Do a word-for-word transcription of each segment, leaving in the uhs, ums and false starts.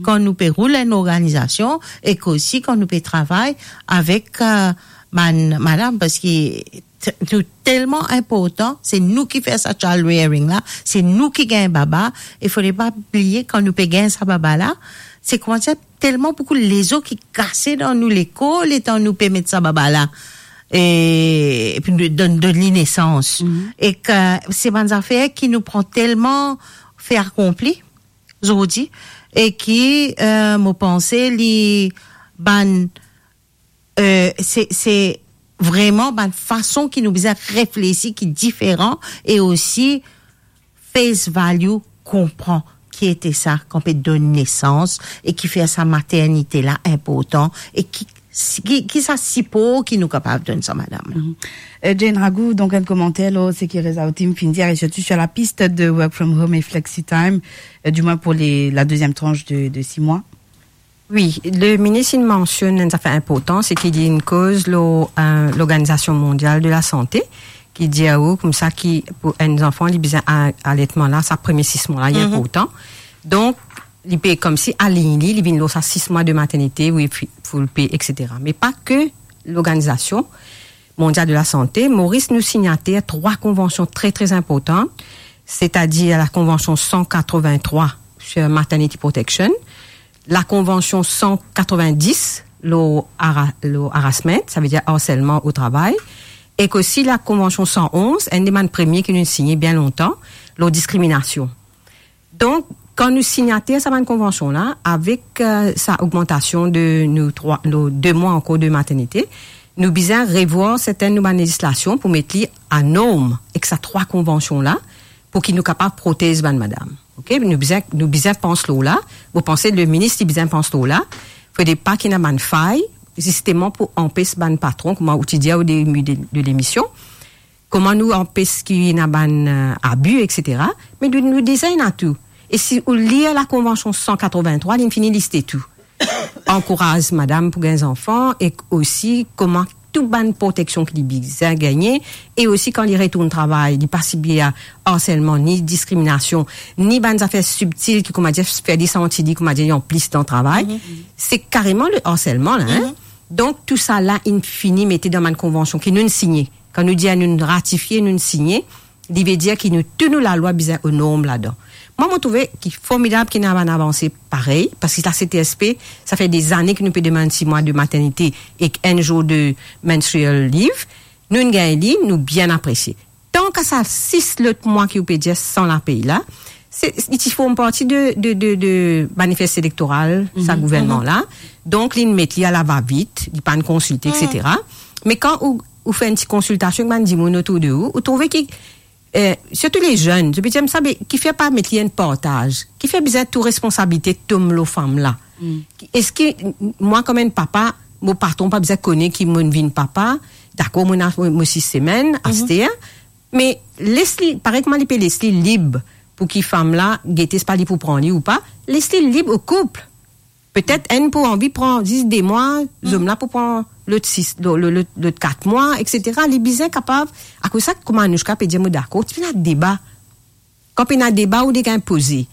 Kan nou pe roul enn organizasion ek osi kan nou pe travay avek, eh, bann madam, parski t-, nou telman inportan, se nou ki fer sa child rearing la, se nou ki gagn baba, e fode pa bliye kan nou pe gagn sa baba la, se kouma dir telman boukou lezo ki kase dan nou lekor letan nou pe met sa baba la, e, epi nou donn, donn li nesans. Mhm. Ek se bann zafer ki nou pran telman fe akonpli, zordi, e ki, eh, mo panse li bann, eh, se, se vreman bann fason ki nou bizin reflesi ki diferan, e osi face value, konpran ki ete sa kan pe donn nesans e ki fer sa maternite la inportan e ki, ki, ki sa sipor ki nou kapav donn sa madam la. Mhm. Euh, Jane Ragou, donc un commentaire là, c'est que Reza Otim fin dire, et surtout sur la piste de work from home et flexi time, euh, du moins pour les, la deuxième tranche de, de six mois. Wi, le minis inn mansionn enn zafer inportan, se ki li inn koz lor, eh, Lorganizasion Mondial de Lasante, ki dir ou koumsa ki pou enn zanfan, li bizin a-, alertman la, sa premie sis mwa la, li inportan. Donk, li pe koumsi align li, li vinn lor sa sis mwa de maternite, wi, fi-, full pay, et cetera. Me pa ke Lorganizasion Mondial de Lasante, Moris nou signater trwa konvansion tre, tre inportan, setadir la konvansion san katrevin-trwa sur maternity protection, la konvansion san katrevin-dis lor hara-, lor harassment, savedir harselman o travay, ek osi la konvansion san onz, enn de bann premie ki nou signe bien lontan, lor diskriminasion. Donk, kan nou signater sa bann konvansion la, avek, eh, sa ogmantasion de nou trwa, nou de mwa ankor de maternite, nou bizin revwar sertin nou bann lezislasion pou met li a norm ek sa trwa konvansion la, pou ki nou kapav protez bann madam. Ok? Nou bizin, nou bizin pans lor la. Mo panse le minis li bizin pans lor la. Fode pa ki ena bann fay, zisteman pou anpes bann patron, kouma ou ti dir o debi de, de lemision, kouma nou anpes ki ena bann, eh, abi, et cetera. Me nou, nou deza ena tou. E si ou lir la konvansion san katrevin-trwa, li fini liste tou. Ankouraz madam pou gagn zanfan, ek osi kouma tou bann proteksion ki li bizin gagne, e osi kan li retourn travay, li pa sibir harselman, ni diskriminasion, ni bann zafer sibtil ki, kouma dir, fer li santi li, kouma dir, li an plis dan travay. Mhm. Se kareman le harselman la, hein? Mhm. Donk, tou sa la, inn fini mete dan bann konvansion ki nou signe. Kan nou dir nou ratifie, nou signe, li ve dir ki nou, tou nou lalwa bizin o norm ladan. Mwa, mo trouve ki formidab ki ena bann avanse parey, parski la C T S P, sa fer dezane ki nou pe demann sis mwa de maternite ek enn zour de menstrual leave. Nou gagn li, nou bien apresie. Tanka sa sis lot mwa ki ou pe dir san lapey la, se, li ti form parti de, de, de, de manifest elektoral, sa gouvernman la. Donk, li met li a la va vit, li pa'nn konsilte, et cetera. Me kan ou, ou fer enn ti konsiltasion ek bann dimoun otour de ou, ou trouve ki, eh, sirtou le zenn, zot pe dir, "Sa be, kifer pa met li enn partaz? Kifer bizin tou responsabilite tom lor fam la? Eski m-, mwa, kouma enn papa, mo patron pa bizin kone ki mo'nn vinn papa? Dakor, mo ena mo, mo sis semenn, aster, me les li, parey kouma li pe les li lib pou ki fam la gete, se pa li pou pran li ou pa, les li lib o koup. Petet enn pou anvi pran zis de mwa, zom la pou pran lot sis, lo-, lo-, lot, lot kat mwa, et cetera." Li bizin kapav, akoz sa, kouma Anoushka pe dir, mo dakor, ti pena deba. Kan pena deba, ou dega inpoze.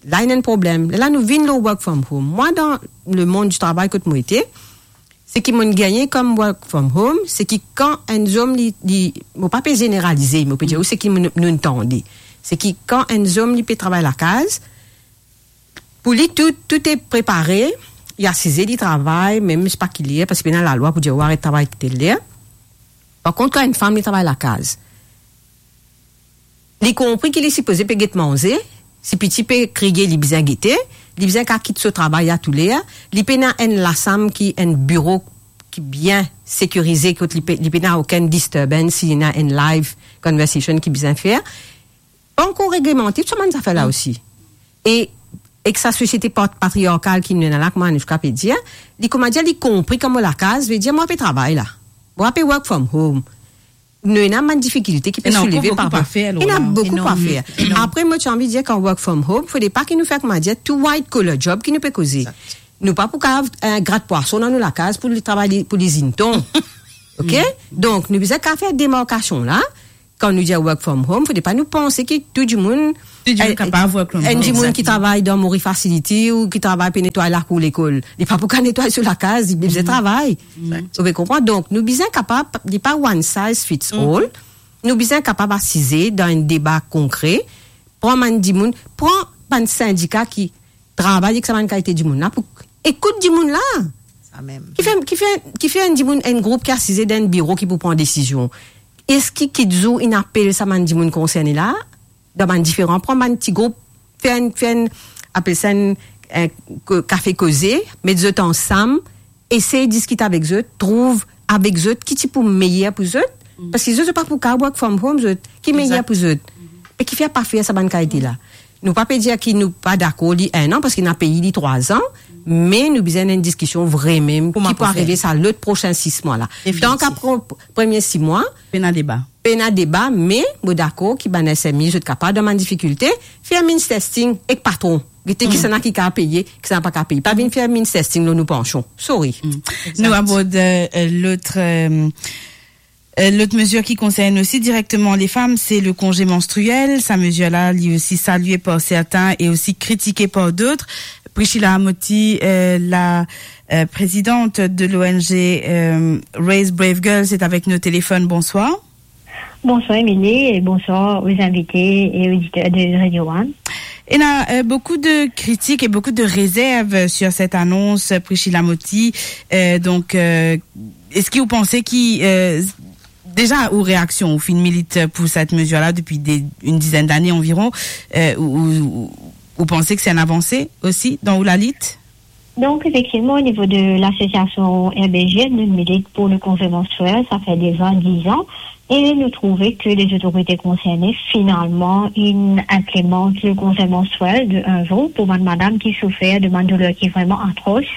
La, ena enn problem. La, nou vinn lor work from home. Mwa, dan lemond di travay kot mo ete, seki mo'nn gagne kom work from home, seki kan enn zom li, li, mo pa pe zeneralize, mo pe dir ou seki nou, nou tande. Seki kan enn zom li pe travay lakaz, pou li tou, tou e prepare, li asize, li travay, mem si pa ki ler, parski pena lalwa pou dir ou aret travay tel ler. Par kont, kan enn fam li travay lakaz, li konpri ki li sipoze pe get manze, si piti pe kriye, li bizin gete, li bizin kapav kit so travay a tou ler, li pena enn lasam ki, enn biro ki bien sekirize, kot li pe, li pena okenn disturbance, si ena enn live conversation ki bizin fer. Ankor reglemante, tou sa bann zafer la osi. E, ek sa sosiete pat-, patriarkal ki nou ena la, kouma Anoushka pe dir, li, kouma dir, li konpri kan mo lakaz, ve dir mo pe travay la. Mo pe work from home. Nou ena bann difikilte ki pe souleve par... Ena ankor boukou a fer, Lola. Ena boukou a fer. Enorm, enorm. Apre, mo ti anvi dir, kan work from home, fode pa ki nou fer, kouma dir, tou white collar job ki nou pe koze. Exact. Nou pa pou kapav, eh, grat pwason dan nou lakaz pou li travay li, pou lizinn ton. Ok? Donk, nou bizin kapav fer demarkasion la, kan nou dir work from home, fode pa nou panse ki tou dimoun, Tou dimoun eh, kapav work from enn home. Dimoun ki travay dan Mori Facility ou ki travay pe netway lakour lekol, li pa pou kapav netway so lakaz, li bizin travay. Exact. Ou pe konpran? Donk, nou bizin kapav, li pa one size fits all. Nou bizin kapav asize dan enn deba konkre, pran bann dimoun, pran bann sindika ki travay ek sa bann kalite dimoun la pou ekout dimoun la. Sa mem. Ki fer, ki fer, ki fer enn dimoun, enn group ki asize dan enn biro ki pou pran desizion. Eski kit zour inn apel sa bann dimoun konserne la, dan bann diferan, pran bann ti group, fer enn, fer enn, apel sa enn, eh, ko-, kafe koze, met zot ansam, esey diskit avek zot, trouv avek zot ki ti pou meyer pou zot, parski zot, zot pa pou kapav work from home, zot, ki meyer pou zot. Exact. Me ki fer pa fer sa bann kalite la. Nou pa pe dir ki nou pa dakor li enn an, parski ena pei li trwa zan, me nou bizin enn diskision vremem ki pou arive sa lot prosin sis mwa la. Definitif. Donk, apre premie sis mwa, pena deba. Pena deba, me mo dakor ki bann S M E, zot kapav dan bann difikilte, fer means testing ek patron. Gete kisannla ki kapav peye, kisannla pa kapav peye. Pa vinn fer means testing lor nou pansion. Sorry. Nou abord, euh, euh, lot, euh, euh, lot mezir ki konsern osi direkteman lefam, se le konze manstriel. Sa mezir la, li osi salie par sertin e osi kritike par dot. Priscilla Moti, euh, la, euh, présidente de l'O N G, euh, Raise Brave Girls, est avec nous au téléphone. Bonsoir. Bonsoir Émilie et bonsoir aux invités et auditeurs de Radio One. Il y a, euh, beaucoup de critiques et beaucoup de réserves sur cette annonce, Priscilla Moti. Euh, donc, euh, est-ce que vous pensez qui, euh, déjà, aux réactions, ou finn milit pour cette mesure-là depuis des, une dizaine d'années environ, euh, ou, ou, ou pensez que c'est une avancée aussi dans ou la lutte? Donk, efektivman, o nivo de lasosiasion R B G, nou milit pou le konze manstriel, sa fer deza diz an, e nou trouve ke lezotorite konserne, finalman, inn inplimant le konze manstriel de enn zour pou bann madam ki soufer de bann douler ki vreman atros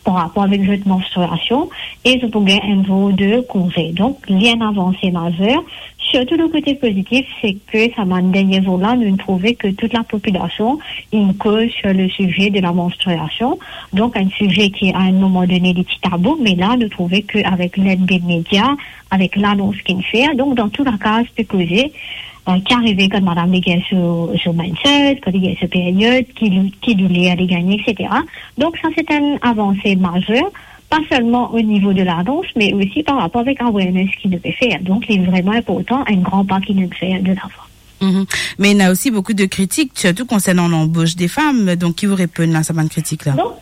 par rapor avek zot manstriasion, e zot pou gagn enn zour de konze. Donk, li enn avanse mazer, sirtou le kote pozitif, se ke sa bann dernie zour la, nou trouve ke tout lapopilasion inn koz sur le size de la manstriasion. Donk, enn size ki, a enn moman done, li ti tabou, me la, nou trouve ke avek led de media, avek lanons ki'nn fer, donk, dan tou lakaz pe koze, euh, ki arive kan madam li gagn so, so mens, kan li gagn so period, ki, ki douler li gagne, et cetera. Donk, sa, se enn avanse mazer, pa selman o nivo de lanons, me osi par rapor avek awareness ki nou pe fer. Donk, li vreman inportan, enn gran pa ki nou fer de lavan. Mhm. Mais il y a aussi beaucoup de critiques, surtout concernant l'embauche des femmes. Donc, qui vous répond à cette critique-là? Non,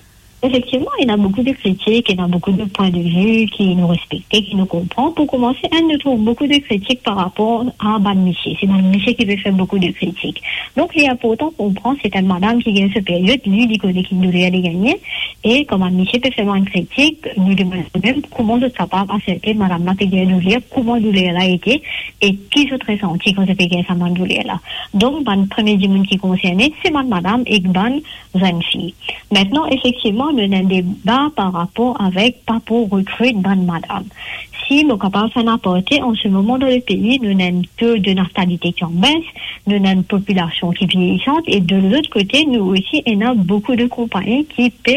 effectivement, il y a beaucoup de critiques, il y a beaucoup de points de vue ki nou respekte, ki nou konpran. Pou koumanse, hein, nou trouv boukou de kritik par rapor a bann misie. Se bann misie ki pe fer boukou de kritik. Donk, li inportan konpran, se enn madam ki gagn so period, li, li kone ki douler li gagne, e kouma misie pe fer bann kritik, nou demann nou mem kouma zot kapav aserte madam la pe gagn douler, kouma douler la ete, e ki zot resanti kan zot pe gagn sa bann douler la. Donk, bann premie dimoun ki konserne, se bann madam ek bann zenn fi. Mintnan, efektivman, nou ena enn deba par rapor avek pa pou rekrit bann madam. Si mo kapav fer enn aparte, an se moman dan lepei, nou ena enn to de natalite ki an bes, nou ena enn popilasion ki vieyisan, e de lot kote, nou osi ena boukou de konpagni ki pe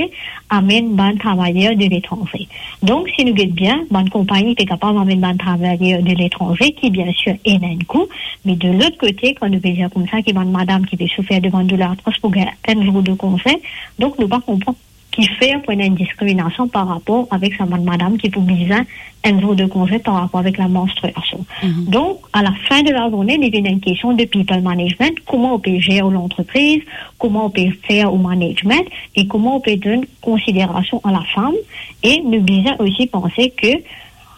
amenn bann travayer de letranze. Donk, si nou get bien, bann konpagni pe kapav amenn bann travayer de letranze, ki biensir ena enn kou, me de lot kote, kan nou pe dir koumsa ki bann madam ki pe soufer de bann douler atros pou gagn enn zour de konze, donk nou pa konpran kifer pou ena enn diskriminasion par rapor avek sa bann madam ki pou bizin enn zour de konze par rapor avek la manstriasion. Mhm. Donk, a la fin de la zourne, li vinn enn kestion de people management, kouma ou pe zer ou lantrepriz, kouma ou pe fer ou management, e kouma ou pe donn konsiderasion a lafam, e nou bizin osi panse ke,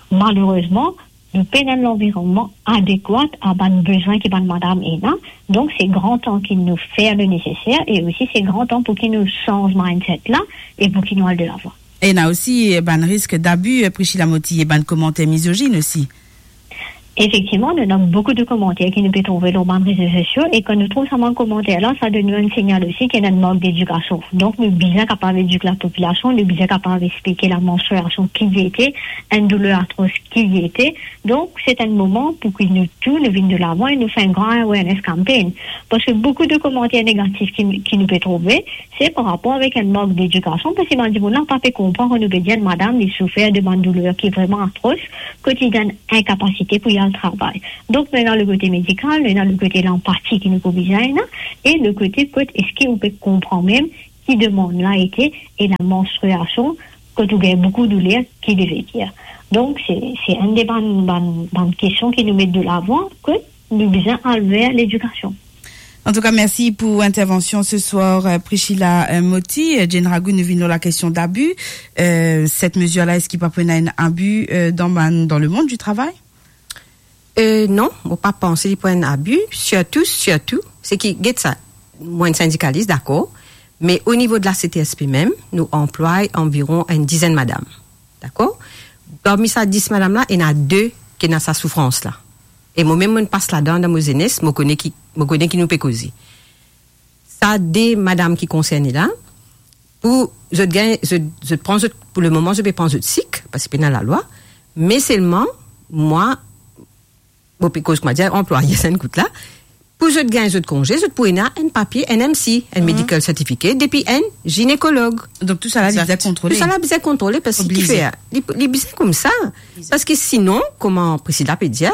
malerezman, nou pena enn lanvironnman adekwat a bann bezwin ki bann madam ena. Donk, se gran tan ki nou fer le neseser, e osi se gran tan pou ki nou sanz mindset la, e pou ki nou al de lavan. E ena osi, eh, bann risk d'abus, eh, Priscilla Moti, e bann komanter mizozinn osi. Efektivman, nou ena boukou de komanter ki nou pe trouve lor bann rezo sosio, e kan nou trouv sa bann komanter la, sa donn nou enn signal osi ki ena enn mank dedikasion. Donk, nou bizin kapav edik lapopilasion, nou bizin kapav explike la manstriasion ki li ete, enn douler atros ki li ete. Donk, se enn moman pou ki nou tou, nou vinn de lavan e nou fer enn gran awareness campaign. Parski boukou de komanter negatif ki, ki nou pe trouve, se par rapor avek enn mank dedikasion, parski bann dimoun la pa pe konpran kan nou pe dir enn madam, li soufer de bann douler ki vreman atros, kot li dan enn inkapasite pou li al travay. Donk, nou ena le kote medikal, nou ena le kote lanpati ki nou pou bizin ena, e le kote kot eski ou pe konpran mem ki demann la ete e la manstriasion, kot ou gagn boukou douler, ki li ve dir. Donk, se, se enn de bann, bann, bann kestion ki nou met de lavan, ke nou bizin al ver ledikasion. Antouka, mersi pou intervansion se swar, euh, Priscilla, euh, Moti. Euh, Jane Ragout, nou vinn lor lakestion dabi. Euh, set mezir la, eski pa pou ena enn abi, euh, dan bann, dan lemond di travay? Euh, non, mo pa panse li pou enn abi, sirtou, sirtou, se ki, get sa, mwa enn sindikalis, dakor, me o nivo de la C T S P mem, nou anplway anviron enn dizenn madam, dakor? Parmi sa dis madam la, ena de ki ena sa soufrans la. E mo mem, mo pas ladan dan mo zenes, mo kone ki, mo kone ki nou pe koze. Sa de madam ki konserne la, pou zot gagn, zot, zot pran zot, pou lemoman, zot pe pran zot sik, parski pena lalwa, me selman, mwa, mo pe koz, koumadir, anplwaye sa enn kout la, pou zot gagn zot konze, zot pou ena enn papie, enn M C, enn Mhm. medical certificate, depi enn ginekolog. Donk, tou sa la, li Exact. bizin kontrole. Tou sa la bizin kontrole, parski Oblize. kifer, li, li bizin koumsa. Oblize. Parski sinon, kouma Priscilla pe dir,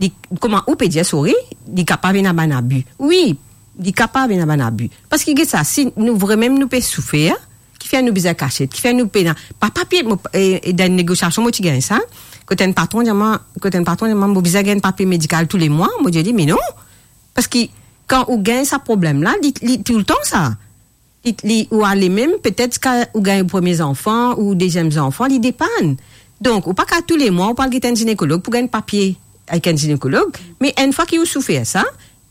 li, kouma ou pe dir, sorry, li kapav ena bann abi. Wi, li kapav ena bann abi. Parski get sa, si nou vremem nou pe soufer, kifer nou bizin kasiet, kifer nou pena, pa papie, mo, e, e dan negosiasion, mo ti gagn sa, kot enn patron dir mwa, kot enn patron dir mwa, mo bizin gagn papie medikal tou le mwa, mo dir li, me non, parski kan ou gagn sa problem la, li, li toultan sa. Li, li, ou ale mem, petet kan ou gagn premie zanfan ou deziem zanfan, li depann. Donk, ou pa kav tou le mwa, ou pou al get enn ginekolog pou gagn papie avek enn ginekolog, me enn fwa ki ou soufer sa,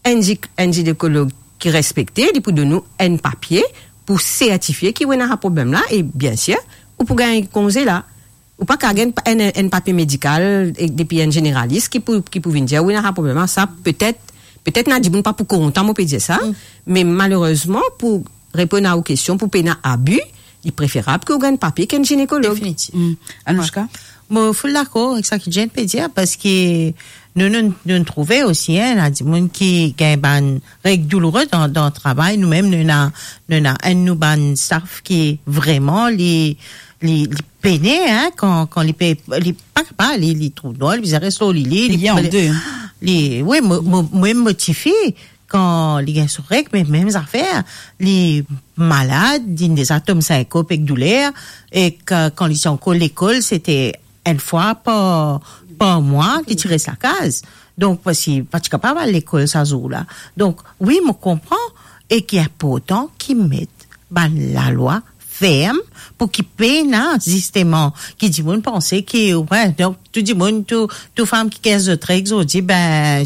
enn gi-, enn ginekolog ki respekte, li pou donn ou enn papie pou sertifie ki ou ena sa problem la, e biensir, ou pou gagn konze la. Ou pa kav gagn enn, enn papie medikal, e depi enn zeneralis ki pou, ki pou vinn dir, wi, ena sa problem la, sa, petet, petet ena dimoun pa pou kontan, mo pe dir sa, Mm. me malerezman, pou reponn a ou kestion, pou pena abi, li preferab ki ou gagn papie ki enn ginekolog. Definitif. Mm. Anouchka? Mo full dakor avek sa ki Jane pe dir, parski nou, nou, nou trouve osi, hein, ena dimoun ki gagn bann reg douloure dan, dan travay. Nou mem, nou ena, nou ena enn nou bann staff ki vreman, li, li, li pene, hein, kan, kan li pe, li pa kapav, li, li trouv nwa, li bizin res lor li, li, Li an de. li, wi, mo, mo, mwa, mo tifi, kan li gagn so reg, me mem zafer, li malad, li deza tom sinkop ek douler, e kan, kan li ti ankor lekol, se te enn fwa par, par mwa, li ti res lakaz. Donk, parski pa ti kapav al lekol sa zour la. Donk, wi, mo konpran, e ki inportan ki met bann lalwa ferm pou ki pena, zisteman, ki dimoun panse ki, wi, donk, tou dimoun, tou, tou fam ki gagn zot reg, zot dir, be,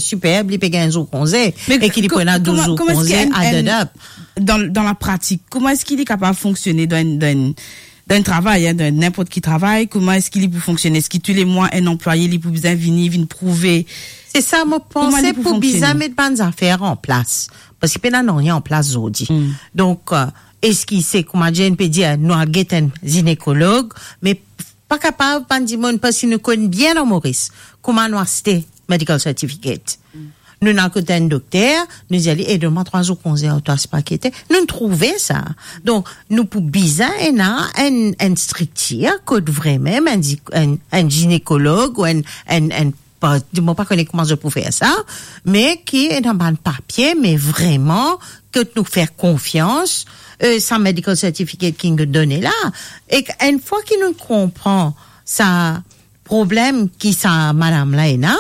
siper, li pe gagn zour konze, Me e ki li ko-, pou ena douz kouma, zour kouma eski konze enn, enn, added up. Dan, dan lapratik, kouma eski li kapav fonksione dan enn, dan enn, dan enn travay, hein, dan ninport ki travay, kouma eski li pou fonksione? Eski tou le mwa, enn anplwaye, li pou bizin vini, vinn prouve? Se sa, mo Kouma panse li pou pou fonksione? bizin met bann zafer an plas. Parski pena nanye an plas zordi. Mm. Donk, euh, eski se, kouma Jane pe dir, nou al get enn zinekolog, me pa kapav bann dimoun, parski nou konn bien dan Moris kouma nou aste medical certificate. Mm. Nou al kot enn dokter, nou dir li, "E, donn mwa trwa zour konze, ou twa, se pa kete." Nou trouve sa. Donk, nou pou bizin ena enn, enn striktir kot vremem enn zi-, enn, enn ginekolog ou enn, enn, enn pa, mo pa kone kouma zot pou fer sa, me ki ena bann papie, me vreman kot nou fer konfians, euh, sa medical certificate ki nou done la. E enn fwa ki nou konpran sa problem ki sa madam la ena,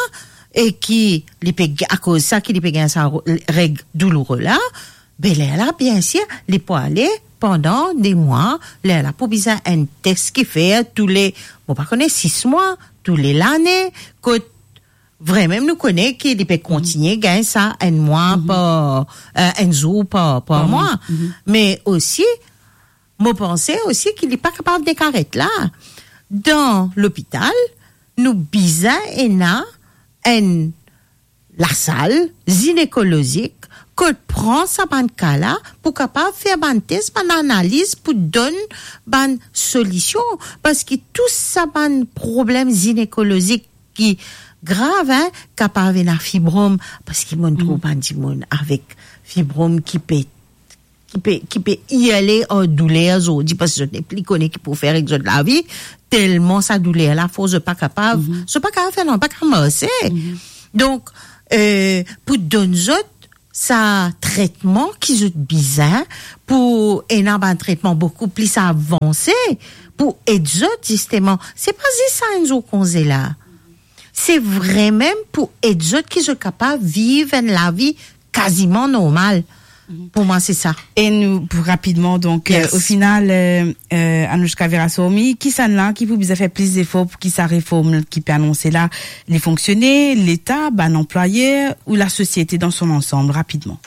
e ki li pe, akoz sa ki li pe gagn sa ro-, reg douloure la, be lerla, biensir, li pou ale pandan de mwa, lerla pou bizin enn tes ki fer tou le, mo pa kone, sis mwa, tou le lane, kot vremem nou kone ki li pe kontigne gagn sa enn mwa Mhm. par, euh, enn zour par, par Par mwa. mwa. Mhm. Me osi, mo panse osi ki li pa kapav nek aret la. Dan lopital, nou bizin ena enn lasal zinekolozik kot pran sa bann ka la pou kapav fer bann tes, bann analiz pou donn bann solision. Parski tou sa bann problem zinekolozik ki grav, hein, kapav ena fibrom, parski mo trouv Mhm. bann dimoun avek fibrom ki pe ki pe, ki pe irle ar douler zordi, parski zot nepli kone ki pou fer ek zot lavi, telman sa douler la for, zot pa kapav, Mhm. zot pa kapav fer nanye, pa kapav marse. Mhm. Donk, eh, pou donn zot sa tretman ki zot bizin, pou ena bann tretman boukou pli avanse, pou ed zot, zisteman. Se pa zis sa enn zour konze la. Se vremem pou ed zot ki zot kapav viv enn lavi kaziman normal. Mhm. Pou mwa, se sa. E nou, pou rapidman, donk, euh, Yes. o final, euh, euh, Anouchka Viraswamy, kisannla ki pou bizin fer plis zefor pou ki sa reform ki pe anonse la, li fonksione, Leta, bann anplwayer ou lasosiete dan son ansanm, rapidman?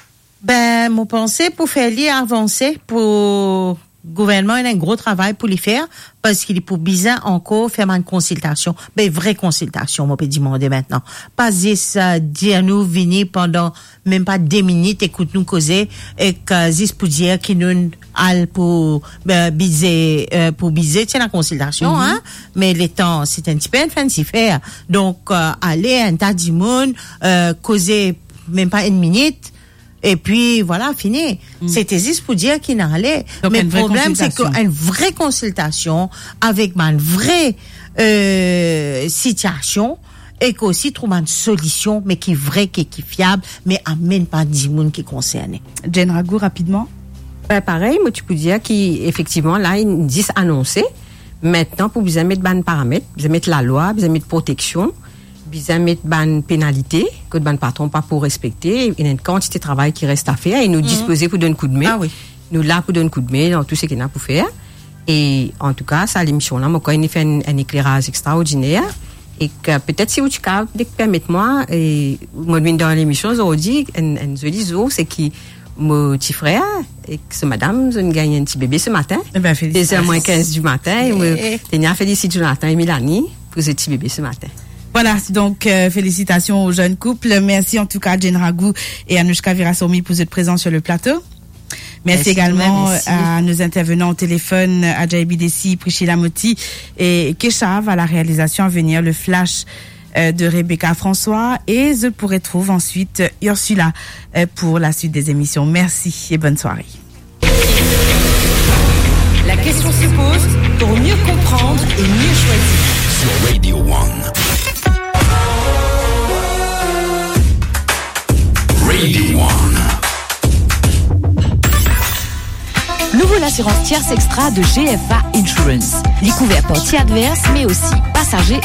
Ben, mo panse pou fer li avanse, pou gouvernman ena enn gro travay pou li fer, parski li pou bizin ankor fer bann konsiltasion, be vre konsiltasion, mo pe dimande aster. Pa zis, euh, dir nou vini pandan mem pa de minit, ekout nou koze, ek, euh, zis pou dir ki nou al pou, euh, bize, euh, pou bize, ti ena konsiltasion, Mhm. hein, me letan, se enn tipe, enn finn ti fer. Donk, euh, ale, enn ta dimoun, euh, koze mem pa enn minit, epi vwala, fini. Mm. Se te zis pou dir ki nou ale. Donk, Me enn vre problem, se ke konsiltasion. Enn vre konsiltasion avek bann vre, euh, sitiasion, ek osi trouv bann solision, me ki vre, ki, ki fiab, me amenn pa dimoun ki konserne. Jane Ragou, rapidman. Ben, parey, mo ti pou dir ki, efektivman, la, li zis anonse. Aster, pou bizin met bann paramet, bizin met lalwa, bizin met proteksion, bizin met bann penalite, kot bann patron pa pou respekte, ena enn kantite travay ki res a fer, e nou Mhm. dispoze pou donn koudme. Ah wi. Nou la pou donn koudme dan tou seki ena pou fer. E antouka, sa lemision la, mo krwar li fer enn, enn ekleraz extraordiner. E ki, petet si ou ti kapav permet mwa, e, mo vinn dan lemision zordi, enn, enn zoli zour, se ki mo tifrer, ek so madam, zot inn gagn enn ti bebe se matin. Eh ben, félicitations. Deux heures moins quinze du matin, e mo Eh. teni a felisit Jonathan e Melanie pou zot ti bebe se matin. Voilà, donc, euh, félicitations au jeune couple. Merci en tout cas à Jane Ragou et Anouchka Viraswamy pour votre présence sur le plateau. Merci Merci, également merci. À nos intervenants au téléphone, Adjaye Bidesi, Priscilla Moti et Keshav à la réalisation. À venir, le flash, euh, de Rebecca François et je pourrai trouver ensuite Ursula, euh, pour la suite des émissions. Merci et bonne soirée. La question se pose pour mieux comprendre et mieux choisir. Sur Radio One. Radio One. Nouvo lasirans Tierce Extra de G F A Insurance. Li kouver parti advers, me osi pasaze